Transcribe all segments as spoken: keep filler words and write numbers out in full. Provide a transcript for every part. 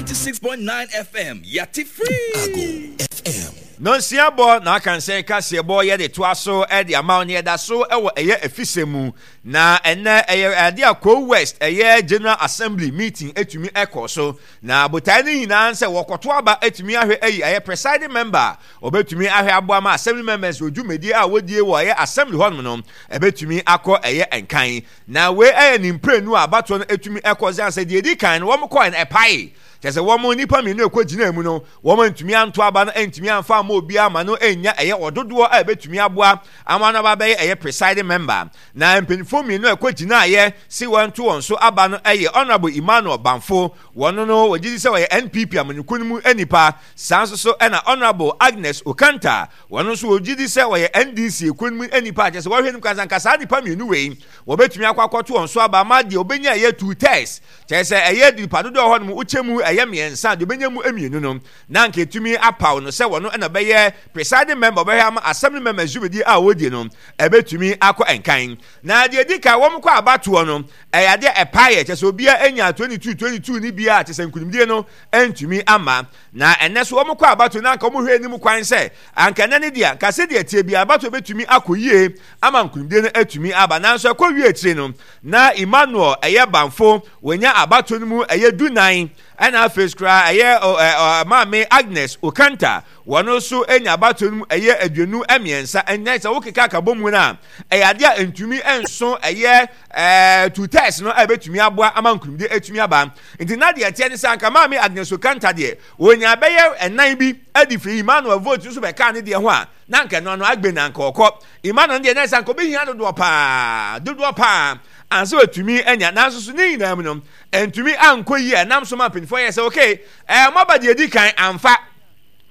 Ninety-six point nine FM, Yati Free. Ago FM. Nonsia bɔ na aka nsɛn kaseɛbɔ yɛde toa so de ama wo ne yɛda so wɔ ɛyɛ afisɛ mu na ɛnɛ ɛyɛ ade a Kwahu West ɛyɛ General Assembly meeting etumi ɛkɔ so na botae no nyinaa sɛ wɔkɔto aba etumi ahwɛ ayi ɛyɛ presiding member a wɔbɛtumi ahwɛ aboa ma assembly members wɔ dwumadie a wɔdie wɔ ɛyɛ assembly hɔnom no ɛbɛtumi akɔ ɛyɛ nkan na wei ɛyɛ ne mprenu a abatoɔ no etumi ɛkɔ sɛ sɛ deɛ edi kan no wɔn kɔɛ no ɛpae kyɛ sɛ wɔn nipa mmienu ɛkɔ gyina mu no wɔn ntumi anto aba no ntumi amfa ama obiara ama no nya ɛyɛ ɔdodoɔ a ɛbɛtumi aboa ama no aba bɛyɛ ɛyɛ presiding member na mpanyinfoɔ mmienu a ɛkɔ gyinaeɛ si wɔn to wɔn so aba no ɛyɛ honourable emmanuel banfo wɔn no wɔgye di sɛ wɔyɛ npp amanyɔkuo no mu nipa saa nso so ɛna honourable agnes okanta wɔn nso wɔgye di sɛ wɔyɛ ndc ekuo no mu nipa kyɛ sɛ wɔhwɛ no kwansa nka saa nipa mmienu wei wɔbɛtumi akɔ akɔto wɔn so aba ama deɛ ɔbɛnya ɛyɛ two thirds kyerɛ sɛ ɛyɛ nipa dodoɔ hɔ nom wokyɛ mu ɛyɛ mmiɛnsa deɛ ɔbɛnya mu mmienu no na nka etumi apaw no sɛ wɔn ɛna bɛyɛ presiding member ɔbɛhwɛ ama assembly member dwumadi a wɔdi no ɛbɛtumi akɔ nkan na deɛ di kan wɔn kɔ abatoɔ no ɛyɛ adeɛ ɛpaeɛ kyerɛ sɛ obiara anya twenty two twenty two ne bia kyerɛ sɛ nkunimdie no ntumi ama na ɛnɛ so wɔn kɔ abatoɔ na anka wɔn hwɛ anim kwan sɛ anka ɛnɛ ne deɛ anka sɛdeɛ tie bi abatoɔ bɛtumi akɔ yie ama nkunimdie no atumi aba nanso ɛkɔ wie akyire no na emmanuel ɛyɛ banfo wɔnya abatoɔ no mu ɛyɛ dunan ɛna afei koraa ɛyɛ ɔ maame agnes okanta wɔn nso anya abatoɔ no mu ɛyɛ aduonu mmiɛnsa ɛnyɛ sɛ wokeka akabɔ mu no a ɛyɛ adeɛ a ntumi nso ɛyɛ ɛɛ two thirds no a ɛbɛtumi aboa ama nkunimdie atumi aba nti na deɛ ɛteɛ ne sɛ anka maame agnes okanta deɛ wɔnya bɛyɛ ɛnan bi adi firi emmanuel vote nso bɛka ne deɛ ho a na anka ɛno ano agbe na anka ɔkɔ emmanuel deɛ na ɛsɛ anka ɔbɛhia dodoɔ paa dodoɔ paa ansa watumi anya nanso so ne nyinaa mu no ntumi ankɔ yie ɛnam so ma mpanyinfoɔ yɛ sɛ okay ɛɛ mɔba deɛ edi kan amfa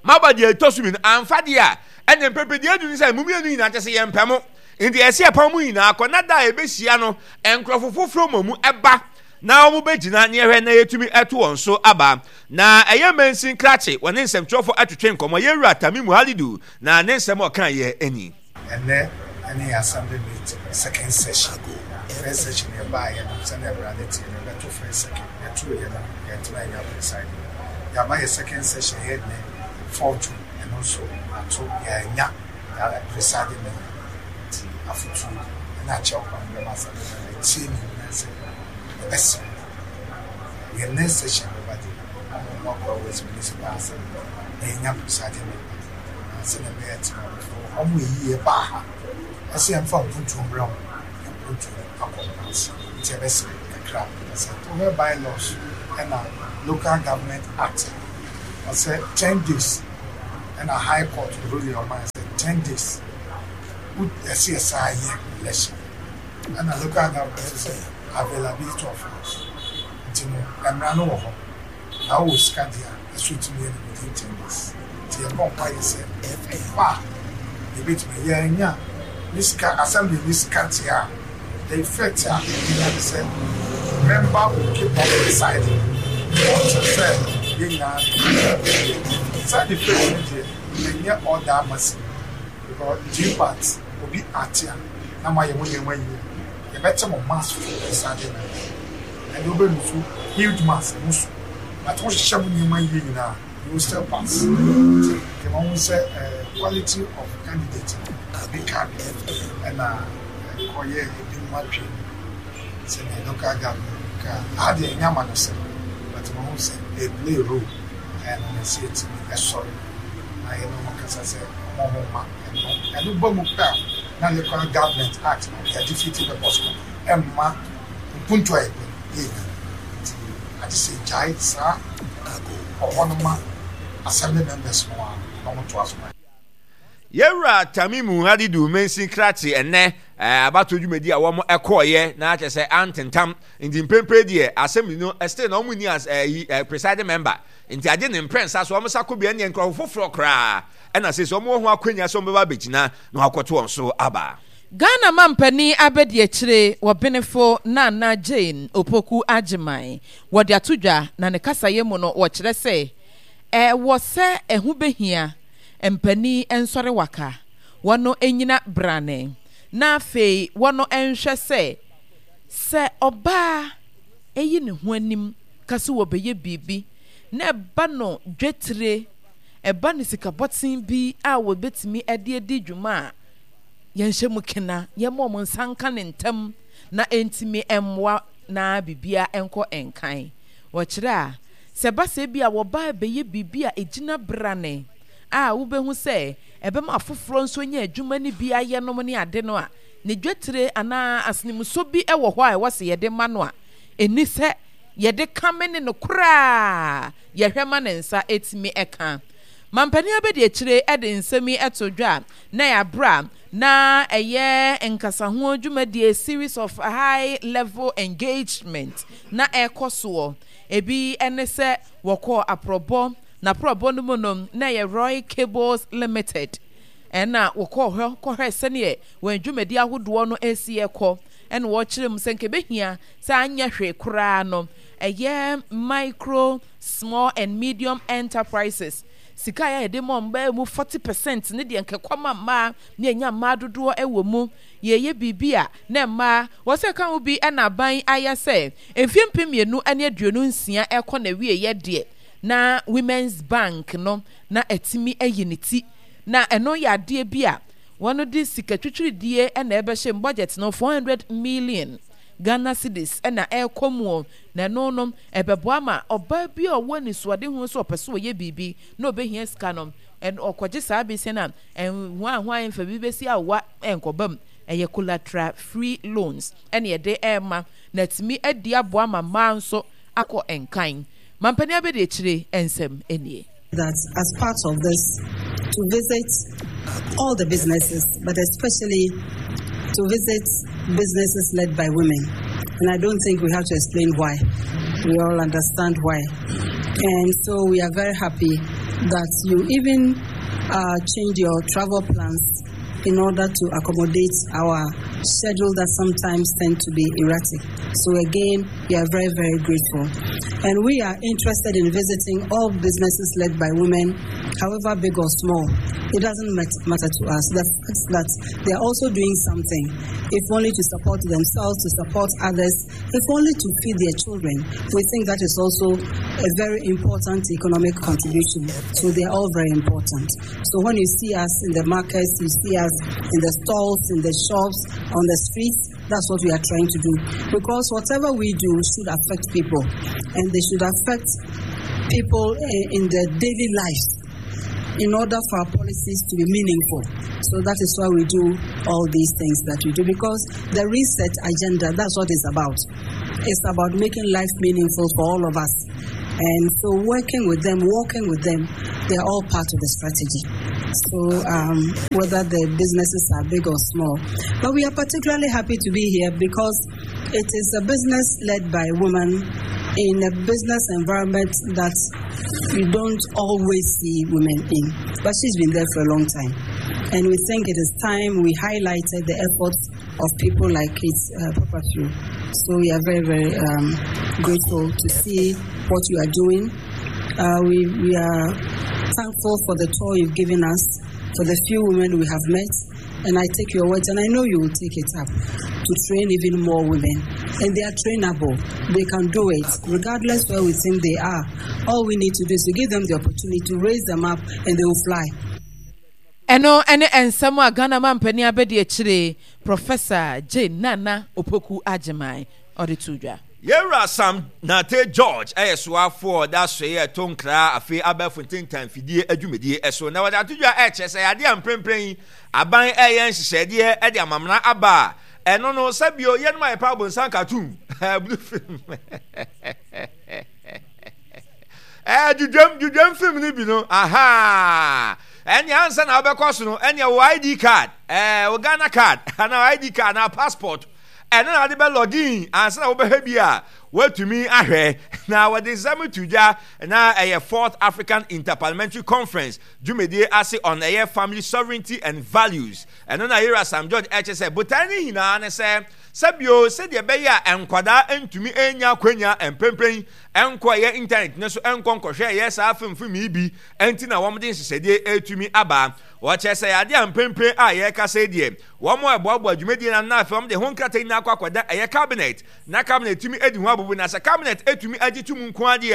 maba deɛ ɛtɔ so mmienu amfa deɛ a ɛna mpɛpɛ deɛ edu ne sɛ mu mmienu nyinaa kyɛ sɛ yɛn mpɛ mo nti ɛsɛ ɛpam mu nyinaa kɔ na da a ɛbɛhyia no nkurɔfo foforɔ mɔ mu ɛba na wɔn bɛgyina ne ɛhwɛ na yɛtumi ɛto wɔn so aba na ɛyɛ mansin krakye wɔne nsɛmtwerɛfoɔ atwetwe nkɔmmɔ yɛwura tamimu halidu na ne nsɛm a ɔka yɛ ani. ɛnɛ ɛne yɛ assembly meeting second session first session yɛ baa yɛ no sɛnea awurade te no yɛbɛto first second yɛto yɛ no yɛntena yɛnya presiding yɛaba yɛ second session yɛ nnɛ fourth june ɛno nso ato yɛanya presiding member nti afotuo ɛna akyɛw kwan bɛma assembly member tie ne nyinaa sɛ yɛbɛsrɛ yɛ next session bɛba de ɔmo mo akɔ west municipal assembly na yɛnya presiding member na sɛnea ɛbɛyɛ tena ɔmo eyi yɛ baa ha ɛsɛ yɛmfa mpuntuo mbrɛ mo mpuntuo akɔ ase nti ɛbɛsrɛ kakra sɛ wohwɛ bylaws ɛna local government act ɔsɛ ten days ɛna high court ruling ɔman sɛ ten days ɛsɛ yɛ saa yɛ election ɛna local government sɛ availability of funds nti no mmara no wɔ hɔ na wowɔ sika deɛ a ɛso tumi yɛ no within ten days nti yɛbɔ mpa yɛ sɛ ɛba a yɛbɛtumi yɛnya ne sika assembly ne sika te a the effect a ɛnya ne sɛ member will keep on presiding until sɛ yɛn nyinaa side effect no deɛ ɛnyɛ all that massive because g part obi ate a na mo ayɛ mo nneɛma yie yɛbɛte mo mass for presiding member ɛde wobɛnu so huge mass mo so but wohyehyɛ mo nneɛma yie nyinaa you will still pass nti yɛma ho sɛ quality of candidate bi ka bi ɛna kɔyɛ ebinom atwe sɛdeɛ local government ka adeɛ ɛnyɛ ama no sɛ but ma ho sɛ they play role ɛno na ɛsɛ yɛtumi ɛsɔre na yɛne wɔn kasa sɛ ɔmo ho ma ɛno ɛno ba mu pɛ a na local government act no yɛde fiti purpose no ɛmma mpuntu a yɛpɛ yɛnya nti agye sɛ gyae saa ɔhɔ no ma assembly members no a na wɔn to aso yɛwura tamimu halidu mansin krakye ɛnɛ abato dwumadi a wɔn ɛkɔɔyɛ na akyɛ sɛ antentam nti mpempere deɛ assembly no still na wɔn ni as ɛyi presiding member nti agye ne mprɛnsa so wɔn sa kɔ bia ne nkurɔfo foforɔ koraa ɛna sɛ sɛ wɔn wɔ ho akonnwa sɛ wɔn bɛba abɛgyina na wɔakɔto wɔn so aba. ghana mampanin abɛdi akyire wɔ benefo nana jane opoku agyeman wɔde ato dwa na ne kasayɛ mu no wɔkyerɛ sɛ ɛwɔ sɛ ɛho behia mpanin nsɔre waka wɔn nyina brane na afei wɔn nhwɛ sɛ sɛ ɔbaa eyi ne ho anim kasi wɔbɛyɛ biribi Na ɛba no dwetire, ɛba no sikabɔten bi a wɔbɛtumi de adi dwuma a, yɛnhyɛ mu kena, yɛmma wɔn nsa nka no ntɛm na ɛntumi mmoa na biribiara nkɔ nkan. Wɔkyerɛ a, sɛ ɛba sɛ ebia wɔba rebɛyɛ biribi a ɛgyina brane a wobɛhu sɛ ɛbɛma afoforɔ nso anya adwuma no bi ayɛ nom ne ade no a, ne dwetire anaa asenemusɔ bi wɔ hɔ a ɛwɔ sɛ yɛde ma no a, ɛnni sɛ yɛde kame ne no koraa, yɛhwɛ ma ne nsa tumi ka. Mampanin abadiakyire de nsɛm yi too dwa a na ɛyɛ aberɛ a na ɛyɛ nkasaho dwumadie, series of high level engagement, na ɛrekɔ soɔ. Ebi ne sɛ wɔkɔɔ aprɔbɔ, na aprɔbɔ no mu no na ɛyɛ Roy Cables Limited ɛna wɔkɔɔ hɔ kɔhwɛɛ sɛdeɛ wɔn dwumadi ahodoɔ no resi rekɔ. Ɛna wɔkyerɛ mu sɛ nka ɛbɛhia sɛ anyɛ hwee koraa no ɛyɛ micro, small and medium enterprises sika a yɛde ma wɔn bɛyɛ mu forty percent ne deɛ nka ɛkɔ ma mmaa ne ɛnya mmaa dodoɔ wɔ mu. Yɛyɛ biribi a na mmaa wɔ sɛ ɛka ho bi na aban ayɛ sɛ mfeɛ mpem mmienu ne aduonu nsia ɛkɔ n'awieɛ deɛ na Women's Bank no na atumi ayi ne ti na ɛno yɛ adeɛ bi a wɔde sika twitwiridie na ɛbɛhyɛ mu, budget no four hundred million Ghana cedis na ɛrekɔ mu, na ɛno no ɛbɛboa ma ɔbaa bi a ɔwɔ anisoadehunu sɛ ɔpɛ sɛ ɔyɛ biribi na ɔbɛhia sika no, ɔkɔgye saa besia no a, hwan hwan mfa bi bɛsi awowa nkɔba mu. Ɛyɛ collateral free loans ɛna yɛde ɛrema na atumi adi aboa ma mmaa nso akɔ nkan. Mampanin abɛdiakyire nsɛm nie. That as part of this, to visit all the businesses, but especially to visit businesses led by women. And I don't think we have to explain why. We all understand why. And so we are very happy that you even, uh, change your travel plans in order to accommodate our schedule that sometimes tend to be erratic. So again, we are very, very grateful. And we are interested in visiting all businesses led by women, however big or small. It doesn't mat-, matter to us. The fact that they are also doing something, if only to support themselves, to support others, if only to feed their children, we think that is also a very important economic contribution. So they are all very important. So when you see us in the markets, you see us in the stalls, in the shops, on the streets, that's what we are trying to do. Because whatever we do should affect people, and they should affect people, eh, in their daily lives in order for our policies to be meaningful. So that is why we do all these things that we do, because the reset agenda, that's what it's about. It's about making life meaningful for all of us. And so working with them, walking with them, they're all part of the strategy. So, um, whether the businesses are big or small. But we are particularly happy to be here because it is a business led by women in a business environment that you don't always see women in. But she's been there for a long time. And we think it is time we highlighted the efforts of people like Kate, uh, Papafio. So we are very, very, um, grateful to see what you are doing. Uh, we, we are thankful for the tour you've given us, for the few women we have met. And I take your words, and I know you will take it up to train even more women. And they are trainable. They can do it, regardless where we think they are. All we need to do is to give them the opportunity to raise them up, and they will fly. Ɛno ne nsɛm a Ghana mampanin abadiakyire Professor Jane Nana Opoku Agyemang ɔde too dwa. Yɛwura Sam Nartey George yɛ soafoɔ ɔda soe ɛto nkra afei abɛɛfo ntentan fidie adwumadie so na wɔde ato dwa ɛkyerɛ sɛ yadeɛ a mprempren yi aban ɛyɛ nhyehyɛdeɛ ɛde amamena aba a ɛno no sɛbio yɛnom a yɛpɛ abonsan cartoon blue film ɛɛ dwudwam dwudwam film no bi no aha ɛnea ansa na wobɛkɔ so no ɛnea wo I D card ɛɛ wo Ghana card anaa I D card anaa passport ɛno na wode bɛ login ansa na wobɛhwɛ bi a woatumi ahwɛ na wɔde nsɛm to dwa na ɛyɛ fourth African Interparliamentary Conference dwumadie ase on ɛyɛ family sovereignty and values ɛno na Yera Sam George ɛkyɛ sɛ botae no nyinaa ne sɛ sɛbio sɛdeɛ ɛbɛyɛ a nkwadaa ntumi nya akwanya mprempren nkɔ ɛyɛ internet ne so nkɔ nkɔhwɛ ɛyɛ saa filmfilm yi bi nti na wɔn de nhyehyɛdeɛ ɛretumi aba. Wɔkyerɛ sɛ adeɛ a mprempren a yɛrekasa yi deɛ wɔn a ɛboaboa dwumadie no ano na afei wɔn de ho nkrataa nyinaa akɔ akɔda ɛyɛ cabinet na cabinet tumi adi ho abubu na sɛ cabinet etumi agye tum nko adeɛ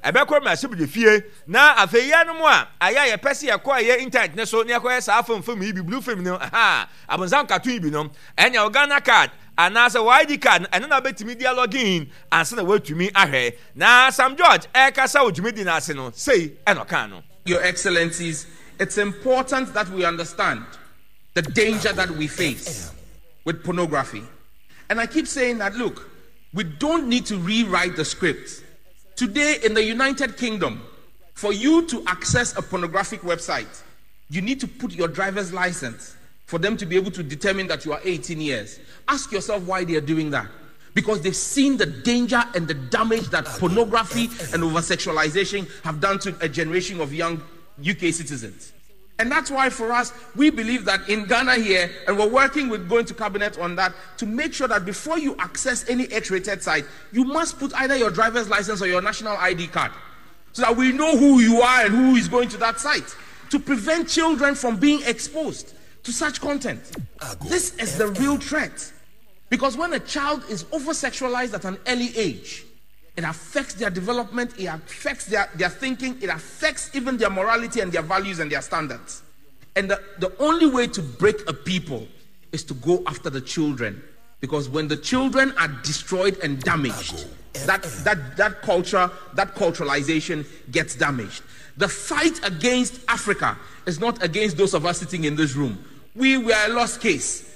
a ɛbɛkɔ mmarahyɛbadwa fie na afei yɛnom a ayɛ a yɛpɛ sɛ yɛkɔ ɛyɛ internet ne so na yɛkɔyɛ saa film film yi bi, blue film no, aha abonsam cartoon yi bi no, ɛnea wo Ghana Card anaasɛ wo I D card no, ɛno na wobɛtumi de alogin ansa na woatumi ahwɛ. Na Sam George ɛrekasa wɔ dwumadi no ase no, sei ɛna ɔkaa no. Your Excellencies, it's important that we understand the danger that we face with pornography. And I keep saying that, look, we don't need to rewrite the script. Today in the United Kingdom, for you to access a pornographic website, you need to put your driver's license for them to be able to determine that you are eighteen years. Ask yourself why they are doing that. Because they've seen the danger and the damage that pornography and over-sexualization have done to a generation of young U K citizens. And that's why for us, we believe that in Ghana here, and we're working with going to cabinet on that, to make sure that before you access any X-rated site, you must put either your driver's license or your national I D card, so that we know who you are and who is going to that site, to prevent children from being exposed to such content. This is the real threat. Because when a child is over-sexualized at an early age, it affects their development, it affects their, their thinking, it affects even their morality and their values and their standards. And the, the only way to break a people is to go after the children. Because when the children are destroyed and damaged, that, that, that culture, that culturalization gets damaged. The fight against Africa is not against those of us sitting in this room. We were a lost case.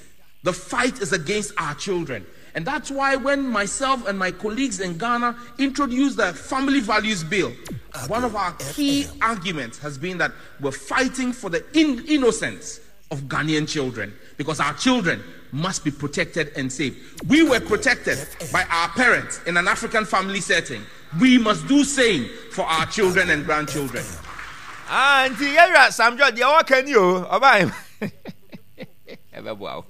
The fight is against our children. And that's why when myself and my colleagues in Ghana introduced the Family Values Bill, one of our key arguments has been that we're fighting for the in- innocence of Ghanaian children because our children must be protected and safe. We were protected by our parents in an African family setting. We must do same for our children and grandchildren. Ah, nti yɛwura Sam George deɛ wɔka ni o, ɔbaa ɛbɛboa wo.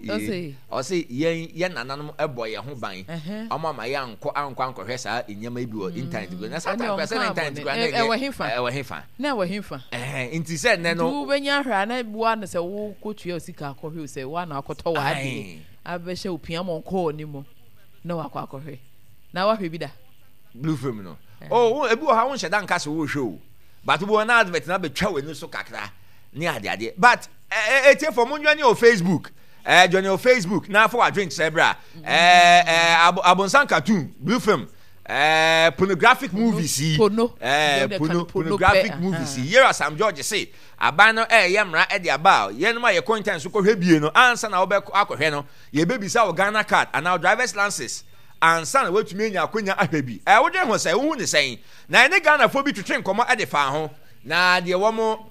Ɔse? Ɔse yɛn yɛn nananom ɛbɔ yɛn ho ban, Ɛhɛn. ɔmo ama yɛn ankɔ ankɔ ankɔhwɛ saa nneɛma yi bi wɔ internet bi na saa Ɛne time kora sɛ na ɔnka internet abɔne. kora na Ɛ- ɛnyɛ- ɛwɔ hefa? Ɛwɔ hefa? Na ɛwɔ hefa? Ɛhɛn, nti sɛ nnɛ nti no wobɛnya ahwɛ a na boa no sɛ wokɔtua wo sika akɔhwɛ o, sɛ woana akɔtɔ w'adeɛ Aye. abɛhyɛ wo pia ma ɔnkɔɔ ne mu na wakɔ akɔhwɛ na wahwɛ bi da. Blue film no oh, wo- ebi wɔ ha, wonhyɛ da nka sɛ wohwɛ o, but wobɔ na advert na bɛtwa w'ani so kakra ne adeadeɛ. But etiefo, mo njoin wɔ Facebook, ɛɛ join wɔ Facebook na afɔ wadwenkyerɛ berɛ a ɛɛ ɛɛ abo abonsan cartoon, blue film, ɛɛ pornographic movies yi. Pono. ɛɛ Deɛ pono ɔde ka no, pono pornographic pɛ, movies aha. yi, yɛrɛ Sam George se aban no ɛɛyɛ mmara ɛde aba a yɛnom a yɛkɔ internet so kɔhwɛ bie no, ansa na wobɛkɔ akɔhwɛ no, yɛbɛbisa wo Ghana Card anaa wo driver's license ansa na woatumi anya akonya ahwɛ bi. Ɛɛ wodwen ho sɛ wohu ne sɛn? Na ɛne Ghanafoɔ bi twetwe nkɔmmɔ ɛde fa ho na deɛ wɔn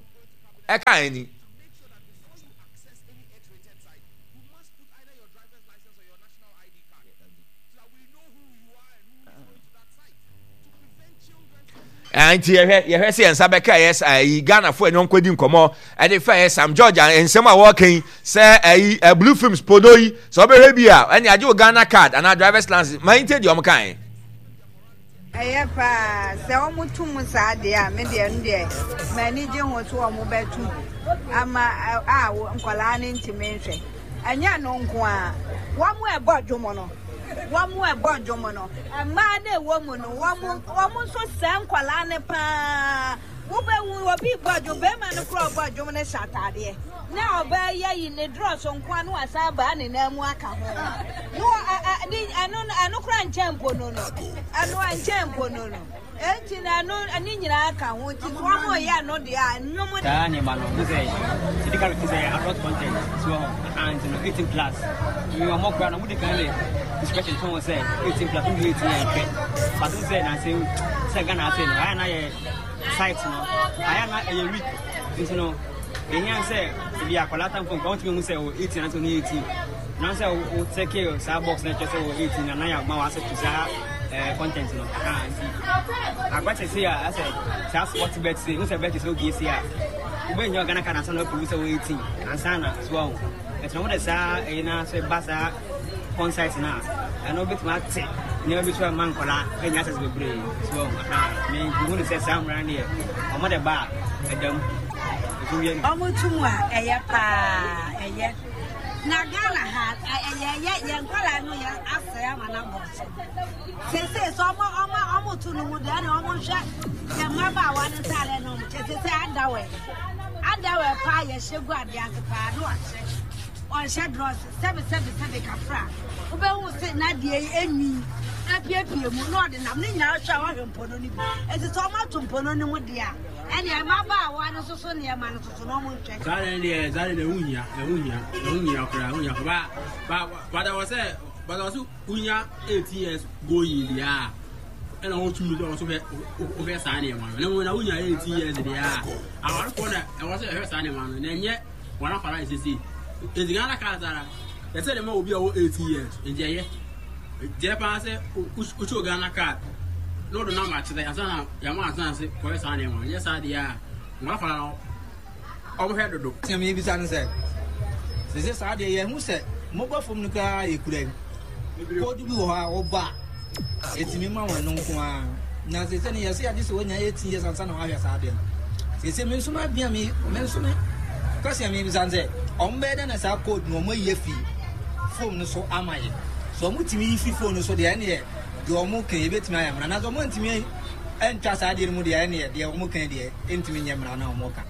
ɛka ani. Before you access any X-rated site, you must put either your driver's license or your national I D card so that we know who you are and who is going to that site to prevent children from Ɛɛ, nti yɛhwɛ yɛhwɛ sɛ yɛn nsa bɛka ɛyɛ ɛyi Ghanafoɔ ɛne ɔnkɔdi nkɔmmɔ ɛde fa ɛyɛ Sam George a nsɛm a wɔreka yi sɛ ɛyi ɛ blue films pono yi, sɛ ɔbɛhwɛ bi a, ɛne agye wo Ghana Card anaa driver's license. Ma yɛn tie deɛ ɔmo kae. Ɛyɛ paa sɛ ɔmo tum saa deɛ a, me deɛ no deɛ m'ani gye ho so. Ɔmo bɛtum ama ɛ, a wo- nkwadaa no ntumi nhwɛ. Ɛnyɛ no nko a, wɔn ɛbɔ dwom no, wɔn ɛbɔ dwom no, mmaa no ɛwɔ mu no, wɔn wɔn nso sɛ nkwadaa no paa. Wobɛwu obi bɔ dwom, bɛrima no kora ɔbɔ dwom no hyɛ ataadeɛ na ɔbaa yɛ yi ne drɔs nko a na wasan baa ne nan mu aka ho na wɔ- ɛ- ɛ- ne- ɛno ɛno kora nkyɛn mpo no no ɛno nkyɛn mpo no no enti na ɛno ne nyinaa ka ho, nti so wɔn yɛ no deɛ a nnwom. Saa nneɛma no ho sɛ yɛde ka te sɛ adult content so wɔ hɔ aha, nti no eighteen plus mi ɔmɔ kora no wodi kan de discretion to ho sɛ eighteen plus, wodi eighteen yɛ nhwɛ. But wo sɛ nanse sɛ Ghana ase no ayɛ na yɛ site no ayɛ na ɛyɛ weak, nti no ehia sɛ ebi akwadaa tamfo nka wɔntumi hu sɛ wɔ eighteen anase ɔne eighteen na sɛ wo check saa box na kyerɛ sɛ wɔ eighteen na na yɛ ama wɔ access to saa ɛɛ content no aha. Nti agbate se a asɛ saa sport bet se n sɛ bet sɛ obie se a wobɛnya Ghana Card ansa na waprove sɛ wɔ eighteen ansa na so ahu. Ɛnti na wode saa ɛyi na sɛ ba saa porn site no a, ɛno wobɛtumi ate nneɛma bi so a ma nkɔlaa ɛnya access bebree so ahu aha. Mehu ne sɛ saa mmara no deɛ ɔmo de ba a ɛda mu ɛso wie no. Ɔmo tum a ɛyɛ paa, ɛyɛ. Na Ghana ha yɛ yɛ yɛn nkwadaa no yɛ asɛe ama no abɔ so. Seesei sɛ ɔmo ɔmo ɔmo to no mu deɛ ɛna ɔmo nhwɛ yɛn mmabaawa no ntaade no ɔmo kyɛ seesei underwear underwear paa yɛhyɛ gu adeɛ ase paa no wahyɛ ɔnhyɛ drɔs sɛbi sɛbi sɛbi kafra wobɛhu sɛ n'adeɛ yi enwi apiepie mu na ɔde nam ne nyinaa hwɛ a wahwɛ mpono no bi eti sɛ ɔmo ato mpono no mu deɛ a ɛnna mmabaawa no soso nneɛma no soso na ɔmo nhwɛ. Saa deɛ deɛ saa deɛ ɛho hia ɛho hia ɛho hia koraa ɛho hia ba ba bada wɔ sɛ bada wɔ sɛ wonya eighteen years going deɛ a ɛna wɔtumi sɛ wɔso hwɛ wohwɛ saa nneɛma no na mmom na wonya eighteen years deɛ a awarefoɔ na ɛwɔ sɛ ɛhwɛ saa nneɛma no na ɛnyɛ wɔn afara ɛsese eti Ghana card ara ɛsɛ de ma obi a ɔwɔ eighteen years nti ɛyɛ deɛ paa sɛ wotwo Ghana card na ɔde nam akyerɛ ansa na yɛama ansa se kɔyɛ saa nneɛma no nyɛ saa deɛ a wɔn afara no ɔmohwɛ dodo. Sɛ mebisa no sɛ, sese saa deɛ yɛhu sɛ mobile phone no koraa yɛkura yi, code bi wɔ hɔ a wɔbɔ a ɛtumi ma wɔn no nko ara, na sese no yɛsɛ yɛagye sɛ wɔnya eighteen years ansa na wɔahwɛ saa deɛ no. Sese me nso m'adwene a me me nso me question a mebisa no sɛ, ɔmo bɛyɛ dɛn na saa code no ɔmo ayi afi phone no so ama yɛ? So ɔmo tumi yi fi phone no so deɛ, ɛneɛ deɛ ɔmo ka yɛbɛtumi ayɛ mmara, na sɛ ɔmo ntumi ntwa saa adeɛ no mu deɛ, ɛneɛ deɛ ɔmo ka deɛ ɛntumi nyɛ mmara na ɔmo ka.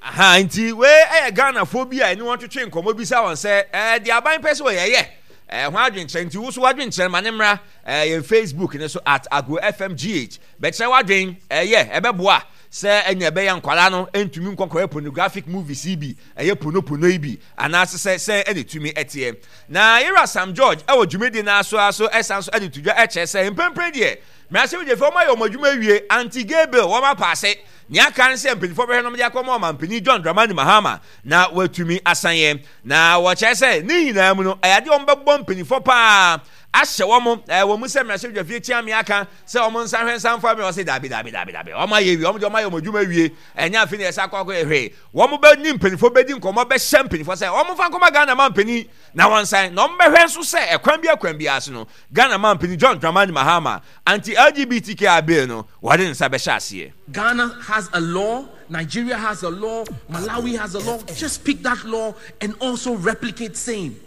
Aha, nti wei ɛyɛ Ghanafoɔ bi a ɛne wɔn twetwe nkɔmmɔ bisa wɔn sɛ ɛɛ deɛ aban pɛ sɛ wɔyɛ yɛ ɛɛ ho adwenkyerɛ, nti wo so w'adwenkyerɛ ma ne mmra ɛɛ yɛn Facebook ne so at Agro F M G H, bɛkyerɛ w'adwen ɛyɛ ɛbɛboa sɛ ɛnya ɛbɛyɛ nkwadaa no ntumi nkɔkɔyɛ pornographic movies yi bi, ɛyɛ ponopono yi bi, anaasɛ sɛ sɛ ɛna etumi ɛteɛ. Na yɛwura Sam George ɛwɔ dwumadie n'aso aso ɛsan so ɛde to dwa ɛkyerɛ sɛ mpempren deɛ mmarahyɛbadwafo wɔn ayɛ wɔn adwuma awie, anti-gay bill wɔn apaase, nea aka ne sɛ mpanyinfoɔ bɛhwɛ nom de akɔma ɔmampanin John Dramani Mahama na watumi asan yɛ. Na wɔkyerɛ sɛ ne nyinaa mu no ɛyɛ adeɛ wɔn bɛbɔ mpanyinfoɔ paa ahyɛ wɔn ɛɛ wɔn mu sɛ mmarahyɛbadwafie kyia aka sɛ wɔn nsa hwɛ nsa nfa mi, wɔn sɛ dabi dabi dabi dabi, wɔn ayɛ wie, wɔn de wɔn ayɛ wɔn adwuma wie, ɛnyɛ afei na yɛsɛ akɔ akɔ yɛ hwee. Wɔn bɛ ne mpanyinfoɔ bɛdi nkɔmɔ bɛhyɛ mpanyinfoɔ sɛ wɔn fa nkɔmɔ Ghana ma mpanyin na wɔn nsan na wɔn bɛhwɛ nso sɛ ɛkwan bi ɛkwan bi ase no Ghana ma mpanyin John Dramani Mahama anti L G B T Q I bill no wɔde ne nsa bɛhyɛ aseɛ. Ghana has a law, Nigeria has a law, Malawi has a law. Just pick that law and also replicate same.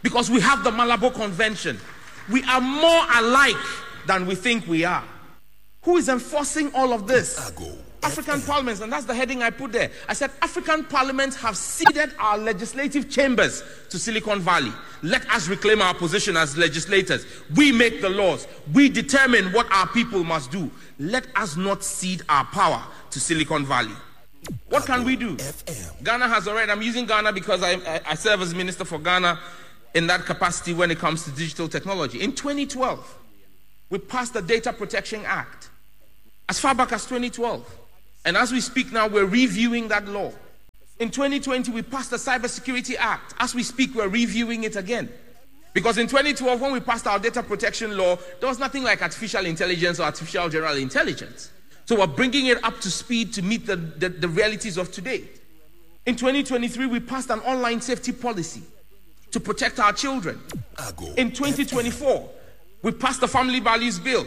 Because we have the Malabo Convention. We are more alike than we think we are. Who is enforcing all of this? African parliaments, and that's the heading I put there. I said African parliaments have ceded our legislative chambers to Silicon Valley. Let us reclaim our position as legislators. We make the laws. We determine what our people must do. Let us not cede our power to Silicon Valley. What can we do? Ghana has already, I'm using Ghana because I, I, I serve as minister for Ghana in that capacity when it comes to digital technology. In twenty twelve, we passed the Data Protection Act. As far back as twenty twelve. And as we speak now, we're reviewing that law. In twenty twenty, we passed the Cybersecurity Act. As we speak, we're reviewing it again. Because in twenty twelve, when we passed our data protection law, there was nothing like artificial intelligence or artificial general intelligence. So we're bringing it up to speed to meet the, the, the realities of today. In twenty twenty-three, we passed an online safety policy to protect our children. In twenty twenty-four, we passed the Family Values Bill.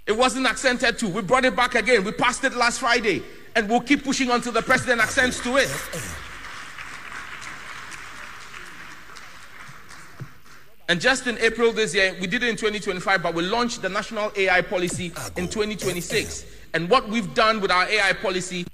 It wasn't assented to. We brought it back again. We passed it last Friday. And we'll keep pushing until the president assents to it. And just in April this year, we did it in twenty twenty-five, but we launched the national A I policy in twenty twenty-six. And what we've done with our A I policy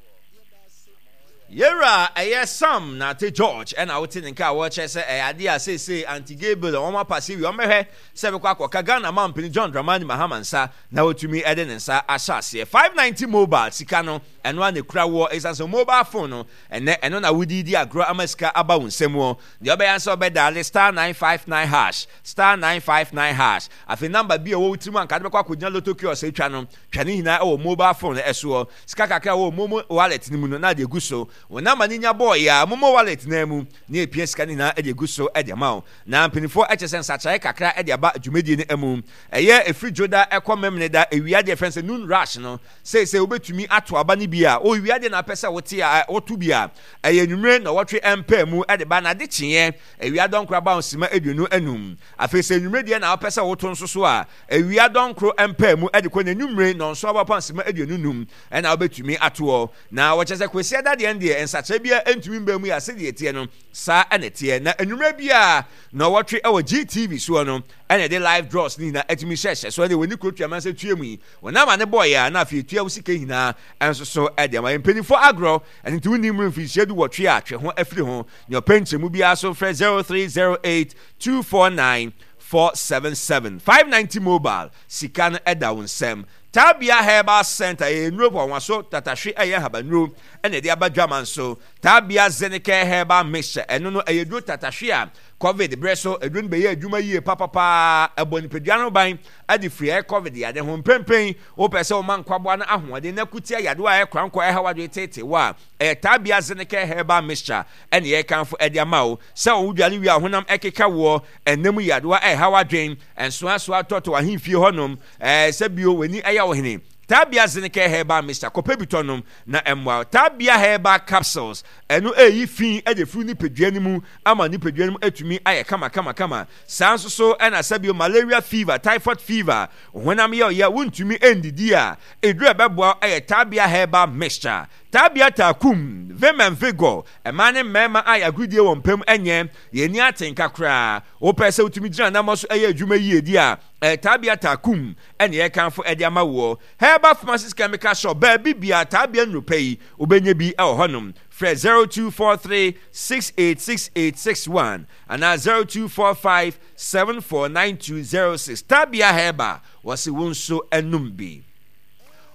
Yɛwura ɛyɛ Sam Nate George ɛna wote ne nka a wɔkyerɛ sɛ ɛyɛ adeɛ a seesei anti-gay bill a wɔn apase wie, wɔn bɛhwɛ sɛ bɛkɔ akɔka Ghana mampanin John Dramani Mahama nsa na wɔtumi ɛde ne nsa ahyɛ aseɛ. five ninety mobile sika no ɛno a na ekura wɔ ɛsiane sɛ mobile phone no ɛnɛ ɛno na wodi di agorɔ ama sika aba wo nsam wɔ deɛ ɔbɛyɛ nsa ɔbɛdial star nine five nine hash, star nine five nine hash. Afei number bi a ɛwɔ wo tirim anka de bɛkɔ akɔgyina lotto kiosk atwa no, twa ne nyinaa ɛwɔ mobile phone ɛsoɔ. Sika kakra wɔ momo wallet no mu no na de egu so wɔn nama ne nya bɔɔl yɛ a momo wallet na mu ne epia sika ne nyinaa de egu so de ama wo. Na mpanimfoɔ ɛkyɛ sɛ nsakyerɛ kakra de aba dwumadie no mu, ɛyɛ efiri dwoda ɛkɔ memene da ewia deɛ fɛn sɛ noon rush no seesei wobɛtumi ato aba no bi. bi a owia deɛ na apɛ sɛ wote a woto bi a ɛyɛ anwummerɛ nnɔwɔtwe mpaa mu de ba na ade kyeeɛ awia dɔnkoro aba nsima aduonu anum. Afei sɛ anwummerɛ deɛ na wopɛ sɛ woto nso so a, awia dɔnkoro mpaa mu de kɔ n'anwummere nnɔnson aba nsima aduonu num ɛna wobɛtumi atoɔ. Na wɔkyɛ sɛ Kwasiada deɛ no deɛ nsakyera biara ntumi mbaa mu yɛ a sɛdeɛ ɛteɛ no saa ɛna ɛteɛ. Na anwummerɛ biara nnɔwɔtwe ɛwɔ G T V soɔ no ɛna ɛde live draws ne nyinaa atumi hyɛhyɛ so. Ɛne wɔni kuro tuama sɛ tue mu yi wɔnam ane bɔɔyɛ a na afei etua wo sika nyinaa ɛnso so ɛde ama. Mpanimfoɔ agorɔ ɛno nti wonni mmiri mfinhyia du wɔtwe a twe ho afiri ho. Nea ɔpɛ nkyɛmu biara so frɛ zero three zero eight two four nine four seven seven five ninety mobile. Sika no ɛda wo nsɛm. Tabia Herbal Center ɛyɛ nnuro pɔnwaso tatahwe, ɛyɛ habanuro ɛna ɛde aba dwama nso. Tabia Zenicare Herbal Mixture, ɛno no ɛyɛ duro tatahwe a COVID berɛ so ɛduro no bɛyɛ adwuma yie papapaa. Ɛbɔ nipadua no ban ɛde firi ɛyɛ COVID yade ho. Mprempren wopɛ sɛ woma nkwaboa no ahoɔden na kutia yadeɛ a ɛkora nkɔ ɛha wadwe tete wɔ a, ɛyɛ Tabia Zenicare Herbal Mixture ɛne yɛkamfo ɛde ama wo sɛ wo dwale wie a honam ɛkeka woɔ, ɛnam yadeɛ a ɛha wadwen, ɛnsoasoa tɔtɔ ahemfie hɔnom, ɛɛ sɛ bio w'ani ɛyɛ wo hene. Tabia Zenicare Herbal Mixture, kɔpɛ bi tɔ nom na ɛmmoa. Tabia Herbal Capsules, ɛno ɛyi fi ɛde firi nipadua no mu ama nipadua no mu atumi ayɛ kama kama kama. Saa nso so ɛna sɛbio malaria fever, typhoid fever, honam yɛ ɔyɛ wontumi ndidi a, eduru ɛbɛboa ɛyɛ Tabia Herbal Mixture. Tabia Takum Vim and Vigor, ɛmaa ne mmarima a yɛagodie wɔn mpam ɛnyɛ yɛni atenka koraa, wopɛ sɛ wotumi gyina nam so ɛyɛ adwuma yie di a, ɛyɛ Tabia Takum ɛne yɛkamfo ɛde ama woɔ. Herbal Pharmacies Chemical Shop, baabi bia Tabia nnuro yi wobɛnya bi ɛwɔ hɔnom. Frɛ zero two four three six eight six eight six one anaa zero two four five seven four nine two zero six. Tabia Herbal, wɔsi wo nso ɛnum bi.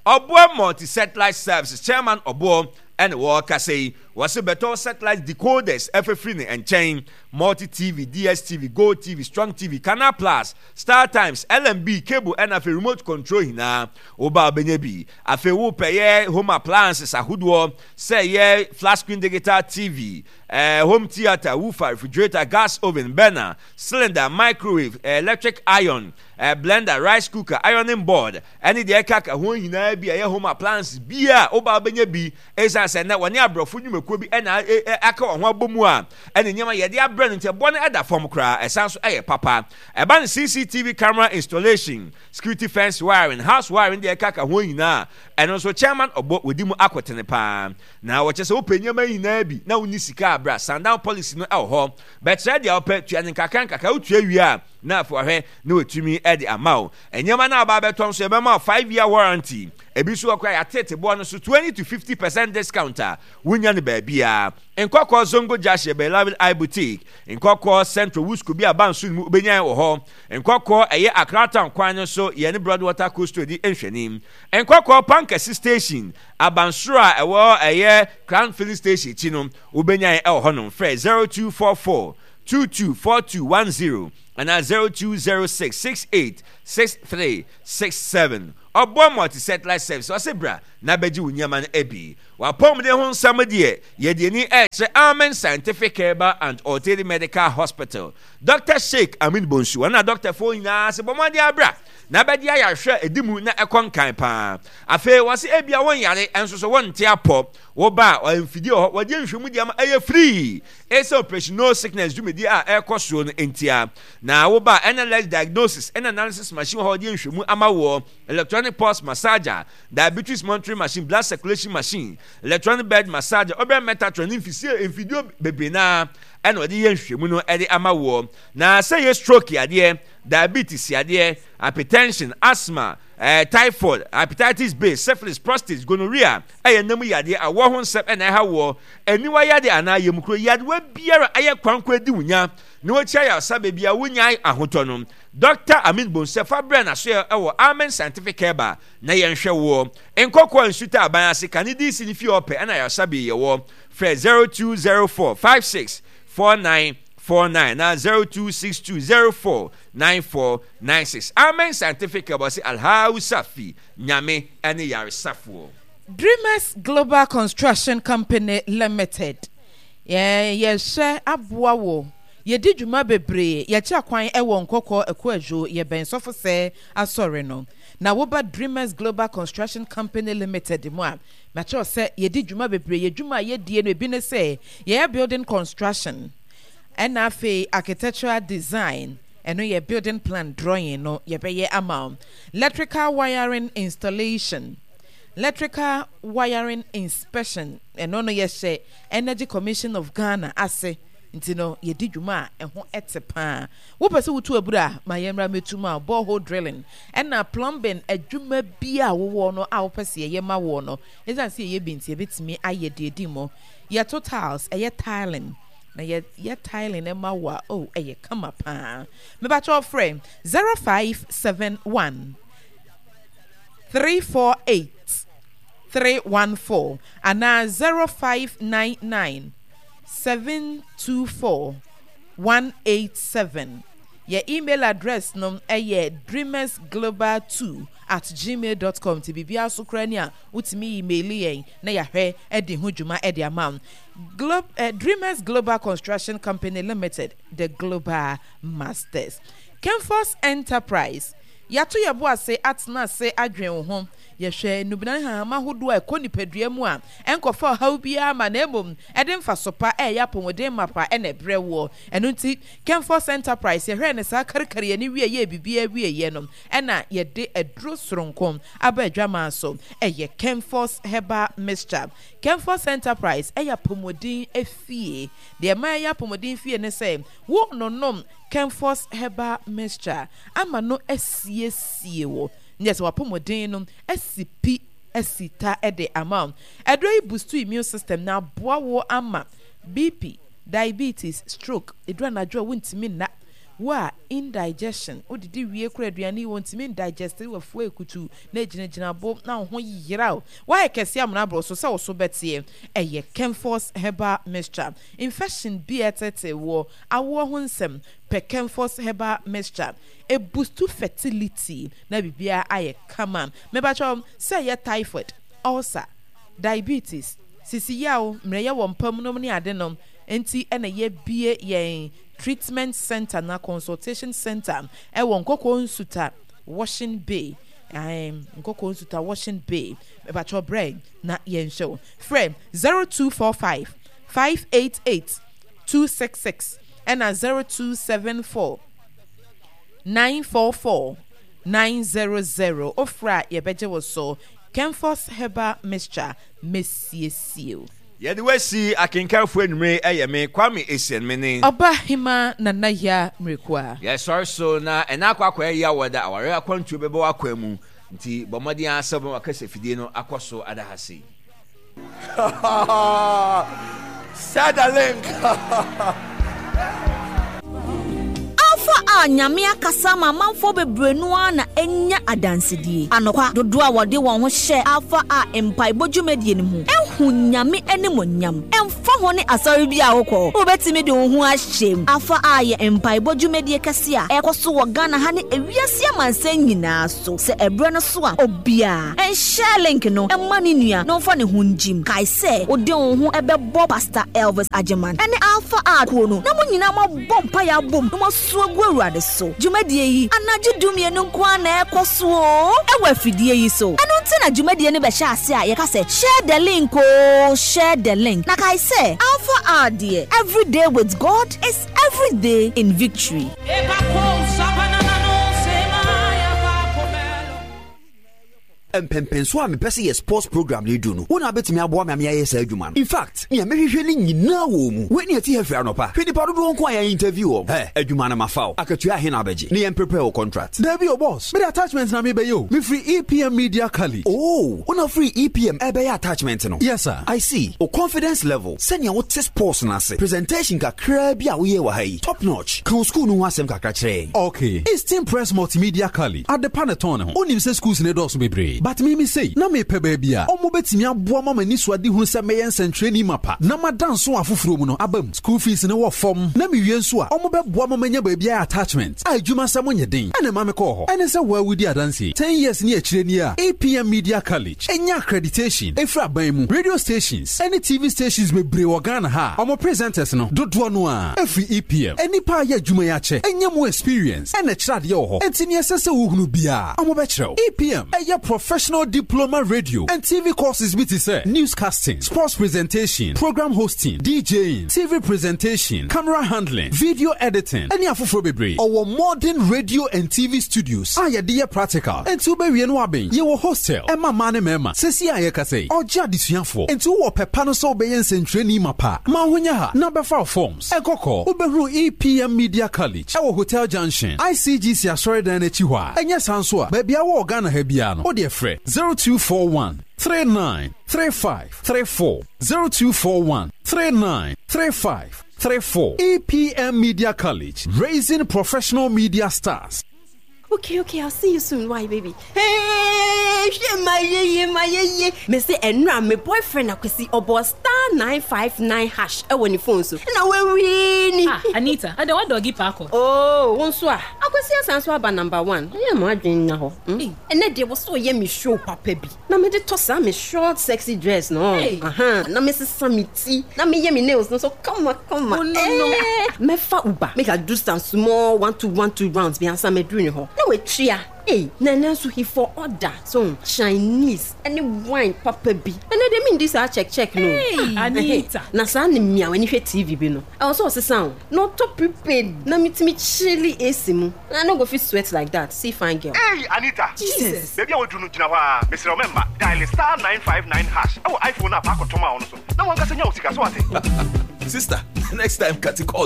Ɔboɔ Multi Satellite Services chairman Ɔboɔ ɛne wɔrekasa yi, wɔsi bɛtɔ satellite decoders ɛfɛfiri ne nkyɛn: Multi T V, D S T V, Go T V, Strong T V, Canal Plus, Star Times, L M B cable ɛna afei remote control nyinaa woba wobɛnya bi. Afei wopɛ yɛ home appliances ahodoɔ sɛ yɛ flat screen digital T V, eh, home theatre, woofer, refrigerator, gas oven, burner, cylinder, microwave, eh, electric iron, eh, blender, rice cooker, ironing board ɛne deɛ ɛka ka ho nyinaa bi a ɛyɛ home appliances bi a woba wobɛnya bi. Ɛsiane sɛ nnɛ wɔne aborɔfo nnwumakuo bi ɛna aka wɔn ho abɔ mu a ɛne nneɛma yɛde abrɛ no, nti ɛbɔ no ɛda fam koraa, ɛsan so ɛyɛ papa. Ɛba no C C T V camera installation, security fence wiring, house wiring, deɛ ɛka ka ho nyinaa, ɛno nso chairman Ɔbɔ wɔdi mu akɔtene paa. Na wɔkyɛ sɛ wopɛ nneɛma nyinaa bi na wonni sika abra, sundown policy no ɛwɔ hɔ. Bɛkyerɛ deɛ wopɛ, tua ne nkakra nkakra, wotua wie a na afei wahwɛ na watumi ɛde ama wo nneɛma no a ɔba abɛtɔ nso. Yɛbɛma wo five year warranty. Ebi nso wɔ koraa yɛatete boɔ no so twenty to fifty percent discount a wonya no baabiara. Nkɔkɔɔ Zongo Gyahyɛ bɛlavin I Boutique, Nkɔkɔɔ Central Wusco bi aba nso no mu wobɛnya wɔ hɔ. Nkɔkɔɔ ɛyɛ Accra Town kwan no so, yɛne Broadwater Coastal di nhwɛnim. Nkɔkɔɔ Pankɛse Station abansoro a ɛwɔ ɛyɛ Crown Filling Station akyi no wobɛnya ɛwɔ hɔnom. Frɛ zero two four four two two four two one zero anaa zero two zero six six eight six three six seven. Ɔboa Multi Satellite Service ɔsɛ bra na bɛgye wo nneɛma no abi. Wapɔmuden ho nsɛm deɛ, yɛde ani ɛrekyerɛ Amen Scientific Herbal and Alternative Medical Hospital, Doctor Sheikh Amin Bonsu. Wɔn na dɔktafoɔ nyinaa sɛ bɔ mmɔden abra na bɛgye ayarehwɛ a ɛdi mu na ɛkɔ nkan paa. Afei wɔse ebia wɔn yare nso so wɔnte apɔ, woba a mfidie wɔ hɔ wɔde nhwɛmu de ama, ɛyɛ free. Ɛsɛ Operation No Sickness dwumadi a ɛrekɔ soɔ no ntia na woba a N L S diagnosis ɛna analysis machine wɔ hɔ wɔde nhwɛmu ama woɔ, electronic pulse massager, diabetes monitoring machine, blood circulation machine, electronic bed massager, ɔbɛn Metatron ne mfisie mfidie bebree naa ɛna wɔde yɛ nhwɛmu no ɛde ama woɔ. Na sɛ yɛ stroke yadeɛ, diabetes yadeɛ, hypertension, asthma, eh, typhoid, hepatitis B, syphilis, prostate, gonorrhea, ɛyɛ nam yadeɛ, awɔ ho nsɛm ɛna ɛha woɔ, aniwa yadeɛ anaa yamukuro yadewa biara ɛyɛ kwankwa adi wo nya na wɔakyi ayaresa baabi a wonya ahotɔ no, Doctor Amin Bonsɛ fa brɛ n'asoɛ ɛwɔ Amen Scientific Herbal na yɛnhwɛ woɔ. Nkɔkɔɔ Nsuta aban ase kane D C ne fie ɔpɛ ɛna ayaresabea yɛwɔ. Frɛ zero two zero four five six four nine four nine na zero two six two zero four nine four nine six. Amen Scientific Herbal sɛ Alhausa fi Nyame ɛne yaresafoɔ. Dreamers Global Construction Company Limited, yɛn yɛhyɛ aboa wo. Yɛdi dwuma bebree. Yɛkyɛ kwan ɛwɔ Nkɔkɔ Ɛkoadwo, yɛbɛn Sɔfo Sɛ asɔre no. Na woba Dreamers Global Construction Company Limited mu a, makyerɛw sɛ yɛdi dwuma bebree. Yɛ dwuma a yɛdie no ebi ne sɛ yɛyɛ building construction, ɛna afei architectural design, ɛno yɛ building plan drawing no yɛbɛyɛ ama wo, electrical wiring installation, electrical wiring inspection, ɛno no yɛhyɛ Energy Commission of Ghana ase, nti no yɛdi dwuma a ɛho ɛte paa. Wopɛ sɛ wotu abura a, ma yɛmmra mɛtu ma borehole drilling, ɛna plumbing adwuma bi a wowɔ no a wopɛ sɛ yɛyɛ ma woɔ no, ɛsiane sɛ yɛyɛ bi nti yɛbɛtumi ayɛ deɛ di mu. Yɛto tiles, ɛyɛ tiling, na yɛyɛ tiling ma wo a, oh, ɛyɛ kama paa. Mebakyɛ frɛ zero five seven one three four eight three one four anaa zero five nine nine seven two four one eight seven. Yɛ email address no ɛyɛ dreamersglobal two at gmail dot com. Ti biribiara so koraa ni a wotumi email yɛn na yɛahwɛ ɛde ho dwuma ɛde ama wo. Glo eh, Dreamers Global Construction Company Limited, the global masters. Kemfos Enterprise, yɛato yɛ bo ase atena ase adwen wo ho. Yɛhwɛ nnubena ne hahama ahodoɔ a ɛkɔ nipadua mu a ɛnkɔfa ɔhaw biara ma, na mmom ɛde mfaso pa ɛyɛ apɔmuden mapa ɛna ɛbrɛ woɔ. Ɛno nti Kemfos Enterprise yɛhwɛ ne saa karikari yɛne wie yɛ biribiara wie yɛ no, ɛna yɛde aduro soronko aba adwaman so, ɛyɛ Kemfos Herbal Mixture. Kemfos Enterprise ɛyɛ apɔmuden efie. Deɛ ɛma ɛyɛ apɔmuden fie ne sɛ wo nonom Kemfos Herbal Mixture ama no asiesie wo ne sɛ wapɔmuden no asi pi asi ta ɛde ama wo. Aduro yi boost immune system na aboa wo ama B P, diabetes, stroke, eduru anadwo a wontumi nna, wo a indigestion, wodidi wie kora aduane yi wɔntumi ndigest, wafuo ekutu na egyinagyina bo na wo ho yera wo, woayɛ kɛse amena aboro so sɛ wo so bɛteɛ, ɛyɛ Kemfos Herbal Mixture. Infection bi a ɛtete wɔ awoɔ ho nsɛm, pɛ Kemfos Herbal Mixture, eboost fertility na biribiara ayɛ kama. Mebakyɛw sɛ ɛyɛ typhoid, ulcer, diabetes, sisi yaw, mmerɛyɛ wɔ mpam nom ne ade nom nti, ɛna yɛbie yɛn treatment center na consultation center ɛwɔ Nkɔkɔɔ Nsuta Washing Bay, ɛɛm Nkɔkɔɔ Nsuta Washing Bay. Mebakyɛw brɛ na yɛnhyɛ wo. Frɛ zero two four five five eight eight two six six ɛna zero two seven four nine four four nine zero zero. Ofra a yɛbɛgye wo so. Kemfos Herbal Mixture, mesiesie o. Yɛde wasi akenkanfoɔ anwummere. Ɛyɛ me Kwame Essien, me ne Ɔba Hema Nana Ya Mmirikua. Yɛsɔre so na ɛna akɔ akɔyɛ yɛ awɔ da aware akwantuo bɛbɛ w'akwan mu, nti bɔ mmɔden ara sɛ wobɛma wakasa fidie no akɔ so ada ha sei. Share the link. Alpha a Nyame akasa ma amanfoɔ bebree no ara na anya adansedie. Anokwa, dodoɔ a wɔde wɔn ho hyɛ Alpha a mpaebɔ dwumadie no mu ehu Nyame animonyam. Ɛmfa ho ne asɔre bi a wokɔ, wobɛtumi de wo ho ahyɛ mu. Alpha a yɛ mpaebɔ dwumadie kɛse a ɛkɔ so wɔ Ghana ha ne ewiase amansan nyinaa so. Sɛ ɛberɛ no so a, obiara ɛnhyɛ link no ɛma ne nua na ɔmfa ne ho ngyim. Kae sɛ wode wo ho ɛbɛbɔ Pastor Elvis Agyeman ɛne Alpha a kuo no na mo nyinaa moabɔ mpaeɛ abom na moasu agu Awurade so. Dwumadie yi, anadwo dumienu nko ara na ɛkɔ so o ɛwɔ afidie yi so. Ɛno nti na dwumadie no bɛhyɛ ase a yɛka sɛ share the link o, share the link. Na kae sɛ Alpha R deɛ, every day with God is every day in victory. Mpɛmpɛnso a mepɛ sɛ yɛ sports program no du no, wo na wobɛtumi aboa me ame ayɛ saa adwuma no. In fact, nea mehwehwɛ no nyinaa wɔ mu. Wei ne ɛte ha firi anɔpa, hwɛ nipa dodoɔ nko a yɛn interview wɔ ɛ adwuma no. Mafa wo. Akatua ahe na abɛgye ne yɛn prepare wo contract? Dabi o, boss, mede attachment na mebɛyɛ o. Mefiri E P M Media Cali. Oh, wona firi E P M ɛbɛyɛ attachment no? Yes sir. I see. O confidence level, sɛnea wote sports no ase, presentation kakraa bi a woyɛ wɔ ha yi, top notch. Ka wo school no ho asɛm kakra kyerɛ yɛn. Okay, Eastern Press Multimedia Cali, adepa ne tɔn ne ho. Wonim sɛ schools ne dɔɔso bebree. But me me sei, na mepɛ baabi a ɔmo bɛtumi aboa ma m'ani so ade hunu sɛ mɛyɛ nsɛntwerɛni mapa na mada nso afoforɔ mu no aba mu. School fees ne wɔ fam na mewie nso a ɔmo bɛboa ma manya baabi ayɛ attachment a adwuma sɛ monyɛ den ɛna ma mekɔɔ hɔ. Ɛne sɛ woawudi adanseɛ ten years ne akyire ni a E P M Media College ɛnya accreditation ɛfiri aban mu. Radio stations ɛne T V stations bebree wɔ Ghana ha a ɔmo presenters no dodoɔ no a ɛfiri E P M. Nnipa a yɛ adwuma yi akyɛ ɛnya mu experience ɛna ɛkyerɛ adeɛ wɔ hɔ, enti neɛ ɛsɛ sɛ wohunu biara ɔmo bɛkyerɛ wo. E P M ɛyɛ professional diploma radio and T V courses bi te sɛ newscasting, sports presentation, program hosting, DJing, T V presentation, camera handling, video editing ɛne afoforɔ bebree. Ɔwɔ modern radio and T V studios a yɛde yɛ practical, enti wobɛwie no abɛn. Yɛwɔ hostel ɛma mmaa ne mmarima. Sɛsi a yɛkasa yi, ɔgye adesuafoɔ, enti wowɔ pɛpa no sɛ wobɛyɛ nsɛntwerɛni ma pa ma ho nyɛ ha na bɛfa wo forms ɛkɔkɔ. Wobɛhunu E P M Media College ɛwɔ Hotel Junction, I C G C asɔredan no akyi hɔ a ɛnyɛ saa nso a baabi a wɔ Ghana ha biara no, wode frɛ zero two four one three nine three five three four, zero two four one three nine three five three four. E P M Media College, raising professional media stars. Okay, okay, I'll see you soon. Why, baby? Hey, hwɛ ma yeye ma yeye. Me se ɛnura me boyfriend Akwasi ɔbɔ star nine five nine hash ɛwɔ ne phone so. Ɛna wawie ni. Ah, Anita, ada wa doggy paako. Oh, wo nso a. Akwasi asan so aba number one. Ɛyɛ mo adwene na hɔ. Ɛnɛ deɛ wɔ so ɔyɛ me show papa bi. Na me de tɔ saa me short sexy dress no. Hey. Aha, na me sesa me ti. Na me yɛ me nails no so kama kama. Oh, no, no. Eh, mɛfa Uber. Make I do some small one two one two rounds bi ansa mɛduru ne hɔ. Na watua. Hey, na ɛnɛ nso he for order so Chinese ɛne wine papa bi. Ɛnɛ de mi ndi saa check check no. Hey, Ah, Anita. ɛhɛ. Na saa ne mmea w'ani hwɛ T V bi no. Ɛwɔ sɛ ɔsesa o. Na ɔtɔ prepaid na mitumi chilli A C mu. Na I no go fit sweat like that. See fine girl. Hey, Anita. Jesus. Baabi a waduru no, gyina hɔ a mesrɛ wo, mɛmma dial star nine five nine hash ɛwɔ iPhone a paakɔtɔm a ɔno so na wankasa nya wo sika so ate. Sister, next time cut call.